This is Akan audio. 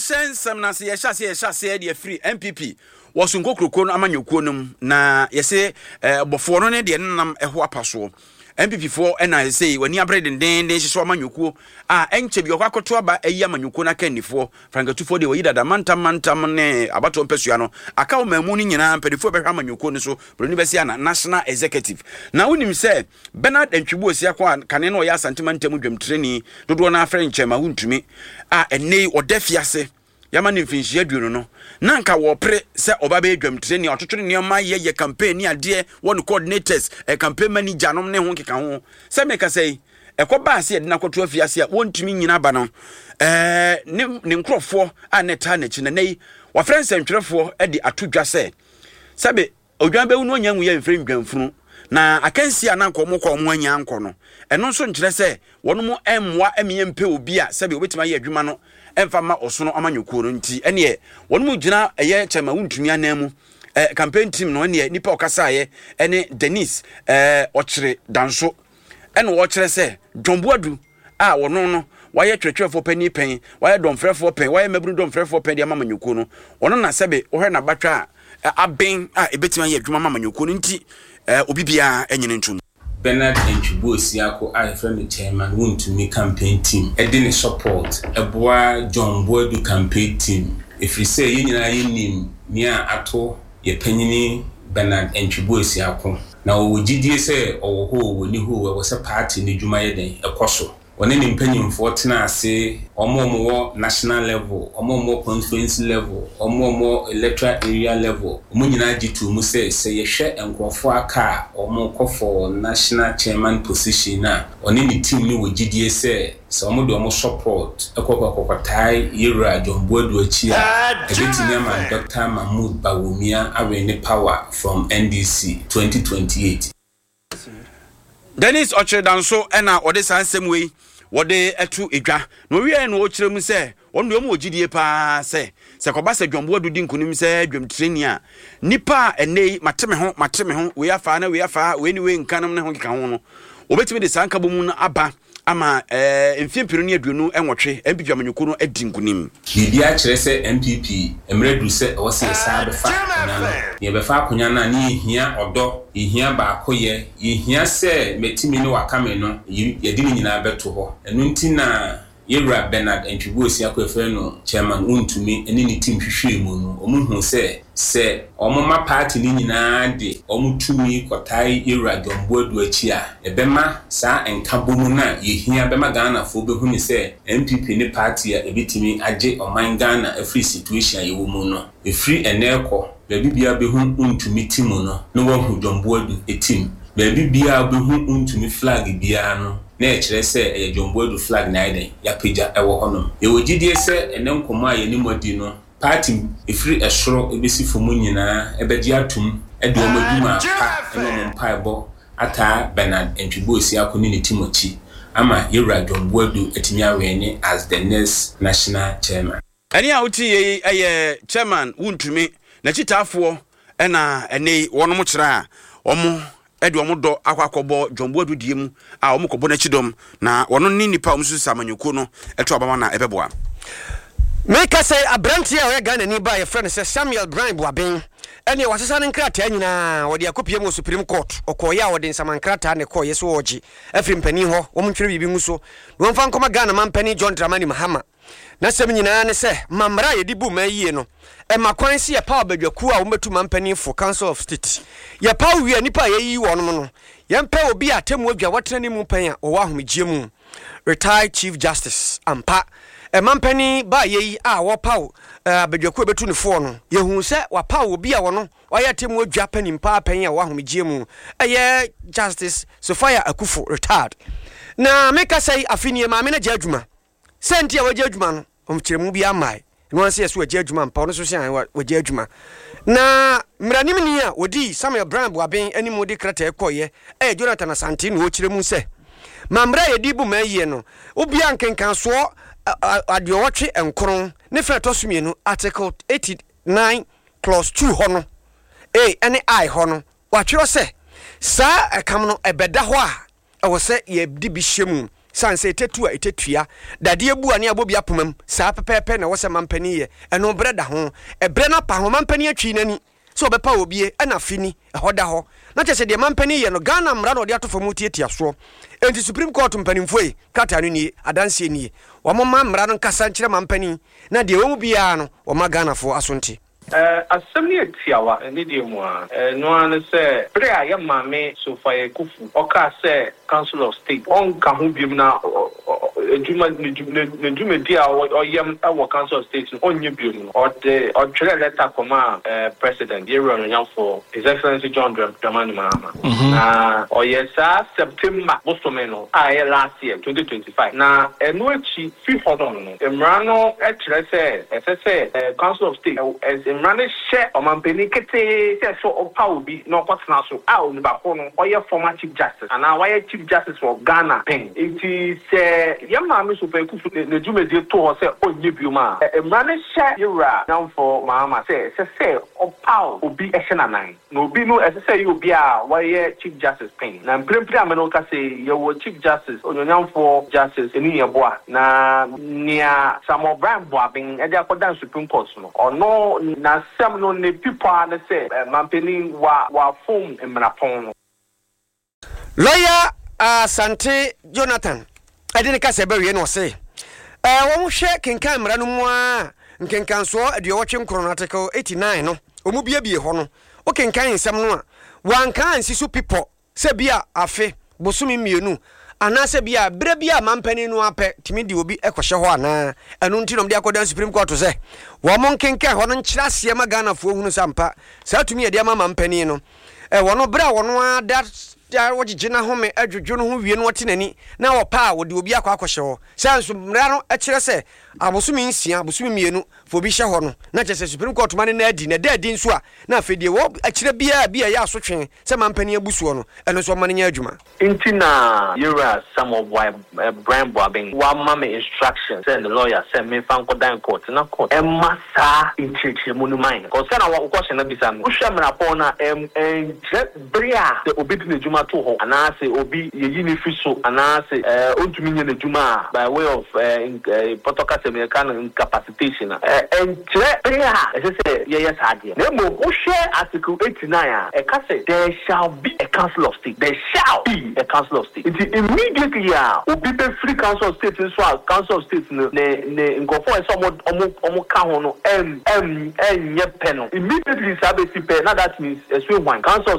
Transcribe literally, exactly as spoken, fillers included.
Yɛnhyɛ nsɛm no ase. Yɛhyɛ aseɛ yɛhyɛ aseɛ de afiri N P P wɔ so nkokuroko no amanyɔkuo no mu na yɛsɛ bɔfoɔ no ne deɛ nenam ɛho apa soɔ. N P P foɔ ɛna sɛ w'ani abere dendenden hyehyɛ amanyɔkuo a ɛnkyɛ bi ɔkɔ akɔto aba ayi amanyɔkuo no akannifoɔ, frankatufoɔ deɛ wɔyi dada mantam mantam ne abatoɔ mpɛsua no aka wo maamu no nyinaa. Mpanimfoɔ bɛhwɛ amanyɔkuo no so buroni bɛsi ana national executive. Na wonim sɛ Bernard Antwi Boasiako a kane no ɔyɛ Asantema ntam dwamtirani dodoɔ no afrɛ nkyɛn ma wontumi a ɛnɛ yi ɔda fiase yɛma ne mfinhyia aduonu no na nka wɔpere sɛ ɔba bɛyɛ dwamtirani a ɔtoto ne nneɛma yɛyɛ campaign ne adeɛ wɔ no coordinators, ɛ campaign manager nom ne ho nkeka ho. Sɛ meka sɛ yi ɛkɔ baa sɛ yɛde no akɔto afiase a wɔntumi nyina ba no, ɛɛ ne ne nkurɔfoɔ a ne taa n'akyi na nɛ yi wɔafrɛ nsɛntwerɛfoɔ de ato dwa sɛ sɛbe odwan bɛwu no ɔnya nwu yɛ mfrɛ ndwamfunu na akansi a na nka ɔmo kɔ ɔmo anya nkɔ no. Ɛno nso nkyerɛ sɛ wɔn mo mmoa ɛmeyɛ mpɛ obi a sɛbe obɛtumi ayɛ adwuma no ɛmfa ma ɔsono amanyɔkuo no. Nti ɛneɛ wɔn mo gyina ɛyɛ kyɛma wontumi anan mu ɛɛ campaign team no. Ɛneɛ nipa ɔkasaeɛ ɛne Dennis ɛɛ ɔkyerɛ Danso ɛna wɔkyerɛ sɛ John Boadu a wɔno no wayɛ twerɛtwerɛfoɔ panyin pɛn, wayɛ dɔmfrɛfoɔ pɛn, wayɛ mmabunu dɔmfrɛfoɔ pɛn de ama amanyɔkuo no. Ɔno na sɛbe wɔhwɛ n'abatwa a aben a ebɛtumi ayɛ adwuma ma amanyɔkuo no. Nti ɛɛ obi biara ɛnyini ntom. Bernard Antwi Boasiako a yɛfrɛ no Chairman Wontumi campaign team ɛde ne support ɛboa John Boadu campaign team, ɛfiri sɛ yɛn nyinaa yɛnim nea ato yɛ panyini Bernard Antwi Boasiako na ɔwɔ gyidie sɛ ɔwɔ hɔ o, wɔni hɔ o, ɛwɔ sɛ party no dwuma yɛ den ɛkɔ so. Ɔne ne mpanyimfoɔ tena ase, ɔmo a ɔmo wɔ national level, ɔmo a ɔmo wɔ constituency level, ɔmo a ɔmo wɔ electoral area level, ɔmo nyinaa gye to mu sɛ sɛ yɛhwɛ nkurɔfoɔ aka a ɔmo kɔ for national chairman position a, ɔne ne team no wɔ gyidie sɛ sɛ ɔmo de ɔmo support ɛkɔ kɔkɔtae yɛwura John Boadu akyi a, ɛbɛtumi ama Doctor Mahmood Bawumia awin ne power from N D C twenty twenty-eight. Dennis Ɔkyerɛdanso ɛna ɔde saa nsɛm wei wɔde ɛto edwa na owie no ɔkyerɛ mu sɛ wɔn deɛ wɔn wɔ gyidie paa sɛ sɛ kɔba sɛ John Boadu di nkunim sɛ dwamtireni a, nipa a ɛnɛ yi mate me ho mate me ho wei afa na wei afa wei ne wei nka nom ne ho keka ho no, wɔbɛtumi de saa nkabɔ mu no aba ama ɛɛ mfie mpenu ne aduonu nwɔtwe N P P amanyɔkuo no adi nkunim. Biribi akyerɛ sɛ N P P mmerɛ duru sɛ ɛwɔ sɛ yɛsan bɛfa akonnwa no na yɛbɛfa akonnwa no a, ne yɛhia ɔdɔ, yɛhia baakoyɛ, yɛhia sɛ mɛtumi ne wakame no yɛde ne nyinaa bɛto hɔ. Ɛno nti na yɛwura Bernard Antwi Boasiako yɛfrɛ no Chairman Wontumi ne ne team hwehwɛɛ mu no, ɔmo hu sɛ sɛ ɔmo ma party no nyinaa de ɔmo tumi kɔtae yɛwura John Boadu akyi a, ɛbɛma saa nkabɔ mu no a yɛhia bɛma Ghanafoɔ bɛhu ne sɛ N P P ne party a ɛbɛtumi agye ɔman Ghana afiri situation a yɛwɔ mu no. Ɛfiri ɛnɛ kɔ, baabi biara bɛhu Wontumi team no na wahu John Boadu team. Baabi biara bɛhu Wontumi flag biara no, na ɛkyerɛ sɛ ɛyɛ John Boadu flag na ayɛ dɛn yɛapagya ɛwɔ hɔnom. Yɛwɔ gyidie sɛ ɛnɛ nkɔmmɔ a yɛne mu adi no, party ɛfiri ɛsoro ɛbɛsi fam nyinaa ɛbɛgye atom ɛde wɔn adwuma pa ɛne wɔn mpaebɔ ataa Bernard Antwi Boasiako ne ne team akyi ama yɛwura John Boadu atumi awin as the next national chairman. Ɛne a wotie yi ɛyɛ Chairman Wontumi n'akyitaafoɔ ɛna ɛne yi wɔnom kyerɛ a wɔn ɛde wɔn dɔ akɔ akɔbɔ John Boadu die mu a wɔn kɔbɔ n'akyi dɔm na wɔn ne nipa a wɔn nso sisa amanyɔkuo no ɛto abama na ɛbɛboa. Meka sɛ aberanteɛ a ɔyɛ Ghanani ba a yɛfrɛ no sɛ Samuel Brian Boaben ɛneɛ wasesa ne nkrataa nyinaa wɔde akɔpie mu wɔ Supreme Court. Ɔkɔɔyɛ a wɔde nsama nkrataa ne kɔɔyɛ so wɔɔgye afiri mpanin hɔ wɔm ntwerɛ biribi ngu so na wɔmfa nkɔma Ghana mampanin John Dramani Mahama. N'asɛm nyinaa ne sɛ ma mmara a yɛde bu ma yie no ɛma kwan sɛ yɛpaw abadwakuo a wɔbɛtu mampanimfo, Council of State. Yɛpaw wie a, nnipa a yɛyiyi wɔnom no, yɛmpɛ obi a atemmu adwa wɔtena ne mu pɛn a wɔwɔ ahomegyeɛ mu, retired chief justice ampa. Ɛmampanin baayɛ yi a wɔpaw abadwakuo a bɛtu ne foɔ no, yɛhu sɛ wapaw obi a wɔno wayɛ atemmu adwa panin paa pɛn a wɔwɔ ahomegyeɛ mu, ɛyɛ Justice Sophia Akufo, retired. Na meka sɛ afe nie maame no agya adwuma. Sɛ nti a wagya adwuma no, ɔmkyerɛmu bi amae na wɔn sɛ yɛ so wagya adwuma mpa. Ɔno nso sɛ wagya adwuma na mmaranimni a wɔdii Samuel Brian Boaben anim de krataa kɔɔyɛ ɛyɛ Jonathan Asante na ɔkyerɛ mu sɛ ma mmerɛ a yɛde bu ma yie no, obia nkenkansoɔ aduɔwɔtwe nkron ne fɛ ɛtɔ so mmienu, Article eighty-nine clause two hɔ no a ɛne I hɔ no, watwerɛ sɛ saa ɛkam no ɛbɛda hɔ a ɛwɔ sɛ yɛde bi hyɛ mu. Sane sɛ ɛtɛtu a ɛtɛtua dadeɛ bu a ne abɔ bi apoma mu saa pɛpɛɛpɛ na ɛwɔ sɛ mampanin yɛ. Ɛno berɛ da ho, ɛberɛ no apa ho. Mampanin atwi n'ani sɛ ɔbɛpa obie ɛna afe ni ɛhɔ da hɔ na kyerɛ sɛ deɛ mampanin yɛ no, Ghana mmara na ɔde ato fam tiatia soɔ. Enti Supreme Court mpanimfoɔ yi, krataa no nie, adanseɛ nie. Wɔn ma mmara no nkasa nkyerɛ mampanin na deɛ ɛwɔ mu biara no, wɔma Ghanafoɔ aso nte. Asɛm no yɛ tiawa ne deɛ mu a ɛno ara ne sɛ bere a yɛ maame Sophia Akuffo ɔkaa sɛ Council of State ɔnka ho biom na adwuma ne dwumadi a ɔyɛm wɔ Council of State no ɔnyɛ biom no, ɔde ɔtwerɛ letter kɔma President, yɛwura onyamfoɔ, His Excellency John Dramani Mahama, na ɔyɛ saa September bosome no a ɛyɛ last year, twenty twenty-five. Na ɛno akyi fi hɔ no no mmara no kyerɛ sɛ ɛsɛ sɛ Council of State, mmara no hyɛ ɔmampanin ketee sɛ sɛ ɔpa obi na ɔkɔtena so a, onipa ko no ɔyɛ former Chief Justice anaa wayɛ Chief Justice wɔ Ghana pɛn. Nti sɛ yɛn maame Sophia Akuffo ne dwumadie to hɔ sɛ ɔnyɛ biom a, mmara no hyɛ yɛwura nyamfo Mahama sɛ ɛsɛ sɛ ɔpaw obi ɛhyɛ n'anan, na obi no ɛsɛ sɛ ɛyɛ obi a wɔyɛ Chief Justice pɛn. Na mprempren a mene ka sɛ yɛwɔ Chief Justice onyonyamfoɔ, Justice Anin Yeboah, na nea Samuel Bryan Buaben ɛde akɔdan Supreme Court no, ɔno n'asɛm no ne pipɔ a ne sɛ mampanin wa wafom mmarapɔn no. Lawyer Asante Jonathan ɛde ne kasa bɛwie no, ɔse ɛɛ wɔn hwɛ kenkan mmara no mu a, nkenkansoɔ aduɔwɔtwe nkron, article eighty-nine no, wɔn biebie hɔ no, wokenkan nsɛm no a, wanka ansi so pipɔ sɛ bi a afe bosome mmienu anaasɛ bi a berɛ bi a mampanin no apɛ tumi de obi kɔhyɛ hɔ anaa. Ɛno nti na ɔmde akɔdan Supreme Court sɛ wɔn mo nkenkan hɔ no nkyerɛ aseɛ ma Ghanafoɔ hunu sɛ ampa saa tumi yɛde ama mampanin no ɛwɔ no berɛ a wɔno ada wɔgyegye n'ahome adwodwo no ho wie no, ɔte n'ani na wɔpa a, wɔde obi akɔ akɔhyɛ hɔ. Sɛ nso mmara no kyerɛ sɛ abosome nsia, abosome mmienu fa obi hyɛ hɔ no, na kyerɛ sɛ Supreme Court ma no na adi na ɛda adi nso a, na afei deɛ wɔ akyerɛ biara bi a ɛyɛ asotwe sɛ mampanin abu soɔ no, ɛno nso ɔma no nyɛ adwuma. Nti na yɛwura Samuel Bryan Buaben wama me instruction sɛ ne lawyer sɛ memfa nkɔdan court na court ɛma saa nkyerɛkyerɛmu no man kɔ sɛ na wokɔhyɛ no bisa no. Wohwɛ mmarapɔn no a, ɛnkyerɛ bere a sɛ obi de n'adwuma to hɔ anaasɛ obi yɛyi ne fi so anaasɛ ɔntumi nyɛ n'adwuma a, by way of pɔtɔ kasa mu yɛka no incapacitation a, ɛnkyerɛ bere a ɛsɛ sɛ yɛyɛ saa adeɛ. Na mmom wohwɛ article eighty-nine a, ɛka sɛ there shall be a Council of State, there shall be a Council of State. Nti immediately a obi bɛfiri Council of State nso a, Council of State no ne ne nkurɔfoɔ a ɛsɛ ɔmo ɔmo ɔmo ka ho no ɛm ɛm ɛnyɛ pɛ no, immediately saa bɛsi pɛ na that means ɛso ehwan Council of State.